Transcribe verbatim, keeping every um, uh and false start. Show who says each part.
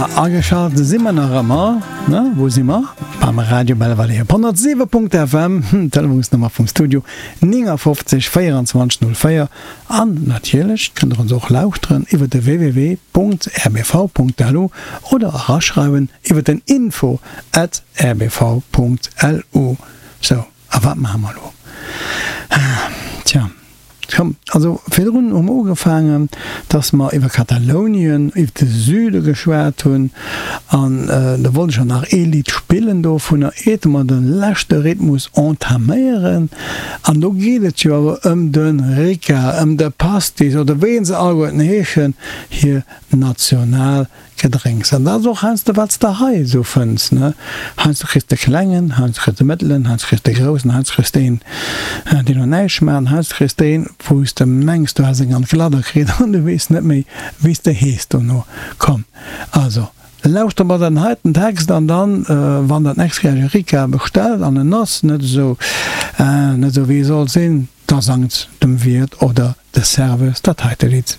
Speaker 1: Ageschalt si mer nach ëmmer, ne? Wou si mer? Beim Radio Belvedere op honnertsiwe Punkt F M, Telefonsnummer vum Studio néngafofzeg véierundzwanzeg null véier. An natierlech kënnt der ons och lauschteren iwwer de w w w Punkt r b v Punkt l u oder eraschreiwen iwwer den info at r b v Punkt l u. Sou, a wat maache mer elo? Tja. Komm, also virdrun hu mer ugefaangen, dass mer iwwer Katalounien, iwwer de Süde geschwat hunn, an da wollt ech och nach ee Lidd spillen dovunner, iert mer de leschte Rhythmus entaméieren. An do geet et jo awer ëm de Ricard, ëm de Pastis, oder wéi se alleguerten heeschen, hir national Gedrénks. An dat ass och heiansdo wat s de hei esou fënns, ne? Heiansdo kriss de klengen, heiansdo kriss de mëttelen, heiansdo kriss de groussen, heiansdo kriss de een, deen no näischt schmaacht, an heiansdo kriss de een, wou s de mengs, du häss eng an d'Gladder kritt an du weess net méi, wéi s de hees dono. Komm, also, lauschter mer den heiten Text an dann, wann der d'nächst Kéier e Ricard bestellt an en ass net esou, net esou wéi e soll sinn, da sangt dem Wiert oder de Serveuse dat heite Lidd.